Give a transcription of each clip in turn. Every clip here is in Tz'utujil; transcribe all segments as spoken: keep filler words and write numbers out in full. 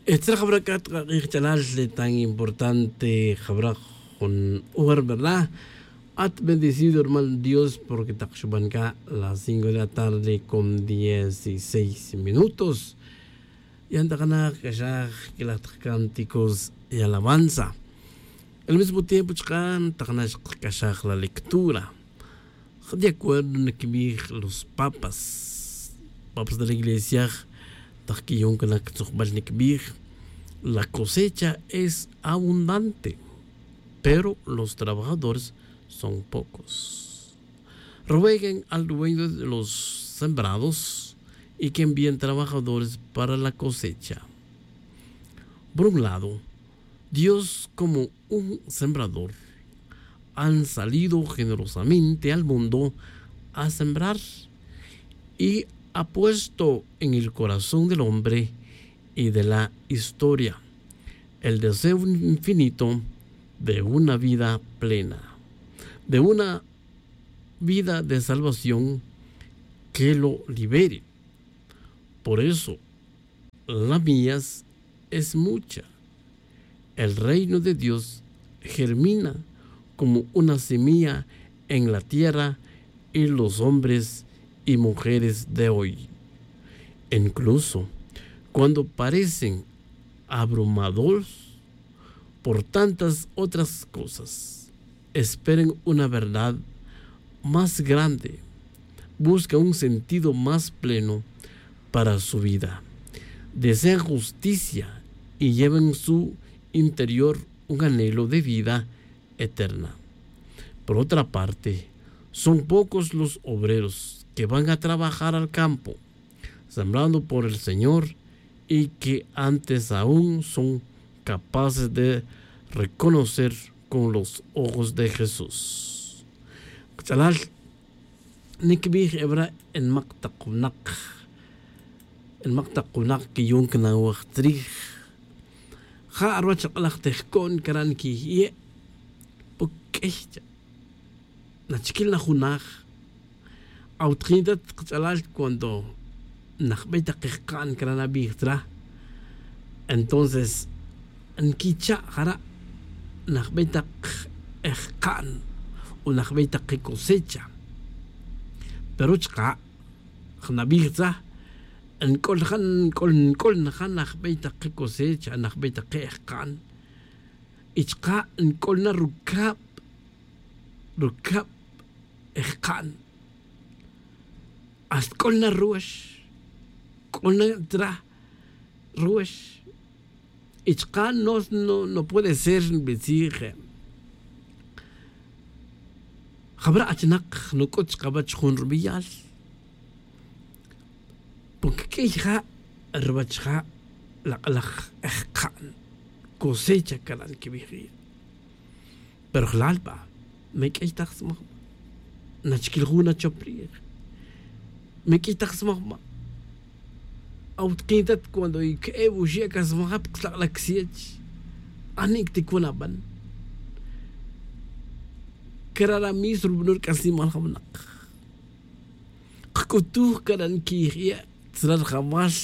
Etzra jabra c'a tk'ak'ij ch'alal, tan importante jabra jun hora, verdad. At bendecido hermano dios porque tak xuban c'a las cinco de la tarde con dieciséis minutos. Yan tak na k'axaj quelaj tak cánticos y alabanza. Al mismo tiempo chaka' tak na xkac'axaj la lectura. De acuerdo nikbij los papas, papas de la iglesia, tak quiyun cana ctzujbal nikbij: la cosecha es abundante, pero los trabajadores son pocos. Rueguen al dueño de los sembrados y que envíen trabajadores para la cosecha. Por un lado, Dios como un sembrador han salido generosamente al mundo a sembrar y ha puesto en el corazón del hombre y de la historia el deseo infinito de una vida plena, de una vida de salvación que lo libere. Por eso, la mies es mucha. El reino de Dios germina como una semilla en la tierra y los hombres y mujeres de hoy, incluso cuando parecen abrumados por tantas otras cosas, esperen una verdad más grande, buscan un sentido más pleno para su vida, desean justicia y llevan en su interior un anhelo de vida eterna. Por otra parte, son pocos los obreros que van a trabajar al campo, sembrando por el Señor, y que antes aún son capaces de reconocer con los ojos de Jesús. Kach'alal, nikbij ebra' en mak tak winak, en mak tak winak que yun canawej tzrij. Ja' ruwach ak'alaj te jco'n cara' niquij ye', poc'ey cha'. Nachiquil na junaj. Awutjintat kach'alal cuando najbey tak kejka'n cara' nabij tzra. Entonces nquicha' jara' najbey tak ejka'n o najbey tak kicosecha. Pero chka' nabij tzra, nc'ol ja nc'ol nc'ol na ja najbey tak kicosecha najbey tak ki ejka'n. Y chka' nc'ol na rucab rucab ejka'n. Hasta c'ol na ruwax, c'ol na tra ruwax. Y chka' no no puede ser nbitzij. Jabra' achinak nuc'ut chkawech jun rubiyal. Porque q'uiy ja' ruwech ja' lak'alaj ejka'n cosecha cara' nquibij ri'. Pero jlal ba me q'uiy taj smajma'. Nachiquil jun nachop rij me q'uiy taj smajma'. Awutkintat cuando ique'e wuxi' acasmaja' pkslak'laj ksiech. Ani' cticun aban cara' ra mis rubano' rc'asnimal jawnak. Kc'utuj cara' nquiij ye' tzra rjawal.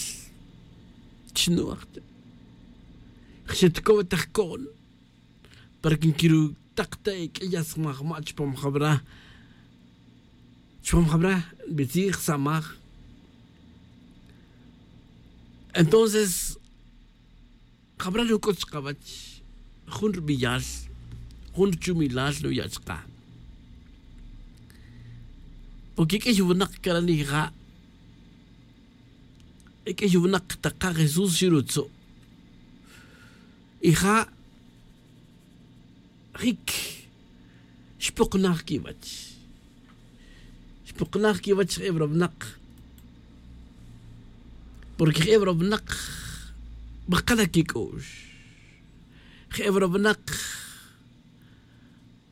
Chnu'aj che jxetcow ta jco'n para que nquirutak ta eq'uiy asmajma' chupam jawra. Chupam jawra nbitzij samaj. Entonces jawra nuc'ut chkawech jun rubiyal jun ruchumilal nuya' chka. Porque q'uiy winak cara' nija' q'uiy winak taka' jesús xirutzu'. Y ja' jic xpoknaj quiwech. Xpoknaj quiwech je'e wra winak. Porque je'e wra winak bakal aquic'u'x. Je'e wra winak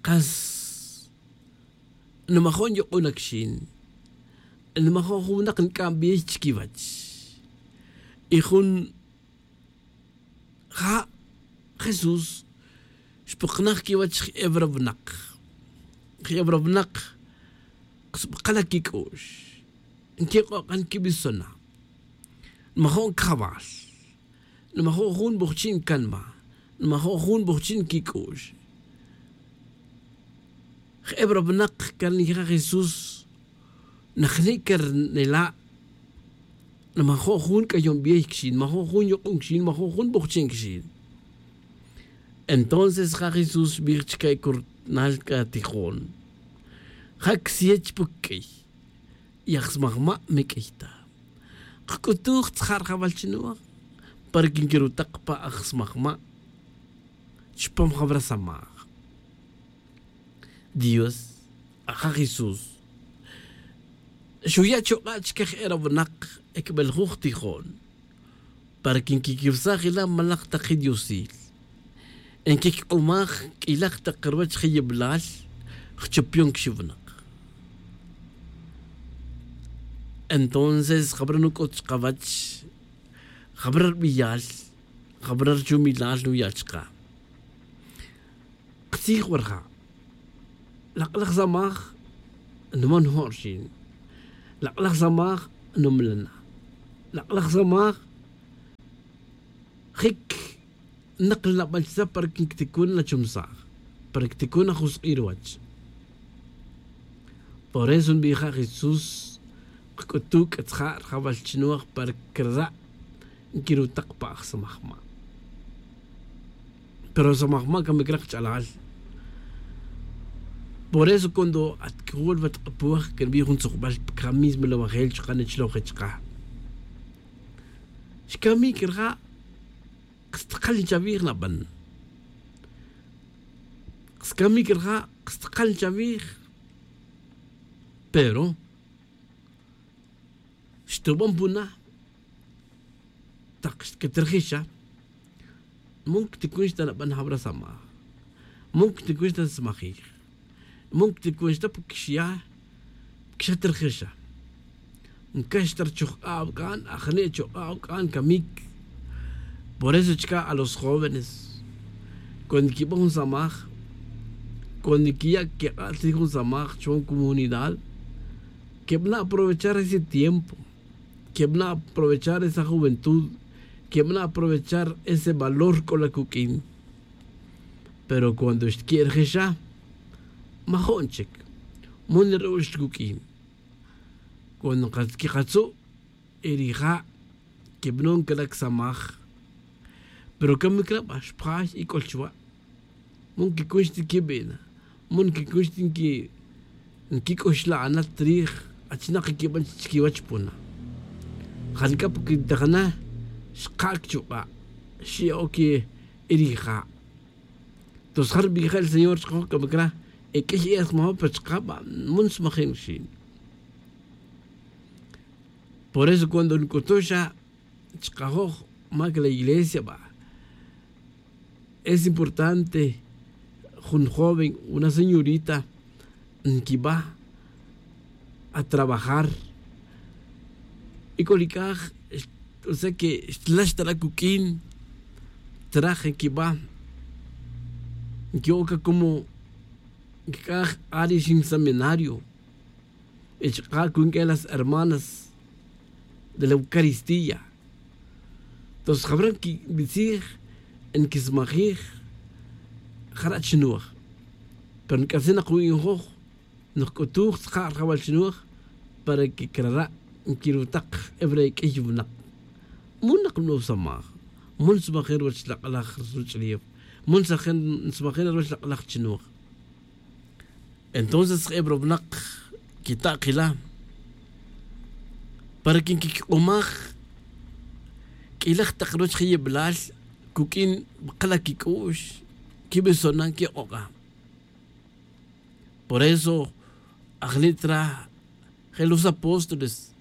kas nmajon yuk'un akxin. Nmajon jun winak nc'ambey chiquiwech. Y jun ja' jesús xpoknaj quiwech je'e wra winak. Je'e wra winak kas bakal aquic'u'x. Nquik'ok'an quibisona'. Nmajon cajawal. Nmajo' jun bojchi' ncanma. Nmajo' jun bojchi' nquic'u'x. Je'e pa ra winak can nija' jesús, najni' can nela'. Nmajo' jun c'ayon biey quixin, nmajo' jun yuk'un quixin, nmajo' jun bojchi' quixin. Entonces ja' jesús xbij chica e curunal c'a tijon, ja' csiye chipuc q'uiy. Y aj smajma' me q'uiy ta. Kc'utuj tzja' rjawal chinoj para que nquirutak pa aj smajma' chupam jawra samaj. Dios, aja' jesús xuya' chuk'a' chique je' ra winak e cbeljuj tijon para que nquiquiwsaj ila malak tak je diosil, nquic'umaj q'uilaj tak ruwech je yibilal. Jchupion quixi winak. Entonces jabara nuc'ut chkawech, jabara rbiyal, jabara rchumilal nuya' chka. Ktzij wa rja'. Lak'laj samaj nman njo' rxin. Lak'laj samaj numlana. Lak'laj samaj jic nakl nabal chisa para que ncticun nachumsaj, para que ticun ajusk'i' ruwach. Por eso nbija' jesús kc'utu' c'a tzja' rjawal chinoj para que rra' nquirutak pa aj samajma'. Pero samajma' camic rak ch'alal. Por eso cuando at c'uwul wa tk'apuj que nbij jun tzujbal pa camic milawajel chuka' nechloje chuka'. Xcamic rija'. Kstakal chawij naban. Kscamic rija' kstakal chawij. Pero xtuban puna tak xtcatirjixa. Mun cticunx ta naban jawra samaj. Mun cticunx ta nsmajij. Mun cticunx ta porque xya' porque xa tirjixa. Ncax ta rchujk'a' awc'an ajni' chuk'a' awc'an camic. Por eso chca' a los jóvenes cuando nquiban jun samaj, cuando nquiya' quik'a' tzij jun samaj chuwan comunidad, quebana' aprovechar ese tiempo. Quebana' aprovechar esa juventud. Quebana' aprovechar ese valor c'o la cuq'uin. Pero cuando xtque'rejexa majo'n chic. Mun ru'ux cuq'uin. Cuando nkatz'u' y rija' quebanon calac samaj. Pero camic raba xpjay y c'ol chuwa'. Mun quicunx ti quibina. Mun quicunx ti nquic'uxla'ana trij. Achinak quiban chiquiwach puna. Jan c'a pa quintajana xkac chuk'a' xi' oc y rija'. Tos ja rbija' el señor chkajoj c'a macra e q'uiy e asmajo pero chkaba' mun smajin rxin. Por eso cuando nc'utuxa chkajoj mac la iglesia ba es importante jun joven una señorita nquiba a trabajar. Y c'o li c'aj o sea que xtlax ta la cuq'uin traj nquiba. Nqui'oc ca como nc'aj ari xin seminario. Y chka' cunq'ue las hermanas de la eucaristía. Tos jabra nquibitzij nquismajij jara' chinoj. Pero nc'atzin nak wi'njoj nojc'utuj tzka' rjawal chinoj para que crara' nquirutak ewre' q'uiy winak. Mun nak nbanow samaj. Mun nsmajin ruwech lak'laj ruch'ulef. Mun nsmajin ruwech lak'laj chinoj. Entonces je' pa ra winak quita' kila' para que nquiquik'umaj q'uilaj tak ruwech je' yibilal cuq'uin bkala' quic'u'x. Quibisonan quik'ok'a. Por eso ajni' tra je los apóstoles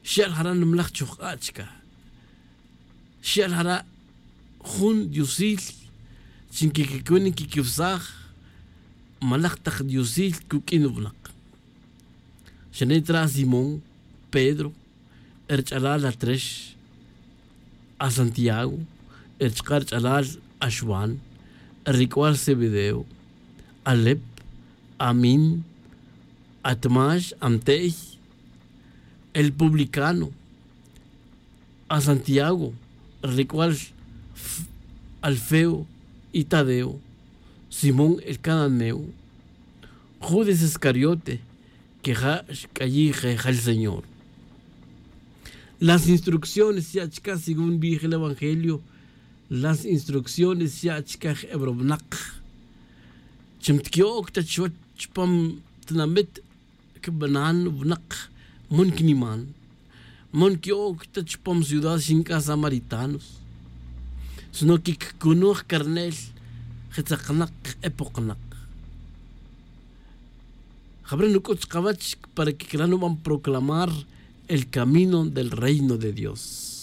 xya'l jara' nimlaj chujk'a' chica. Xya'l jara' jun diosil chi nquiquicun nquiquiwsaj. Malaj tak diosil cuq'uin winak. Xane' tra simón, pedro, rch'alal atrex, asantiago, rchka' rch'alal axwan, ric'ual zebedeo, alep, amin, atmax, amte'y, el publicano, asantiago, ric'ual Alfeo y Tadeo, Simón el cananeo, Judas Iscariote, que ja xc'ayij jejal Señor. Las instrucciones ya' chca según bij el evangelio. Las instrucciones ya' chca je' ebro winak. Chi mtqui'oc ta chuwech chupam tinamit, cbanan winak, man cniman, man qui'oc ta chupam ciudad xinc'a samaritanos, sino que ccunuj carnel je tzaknak, je epoknak. Jabare' nuc'ut chkawech para que cra nuban proclamar el camino del reino de Dios.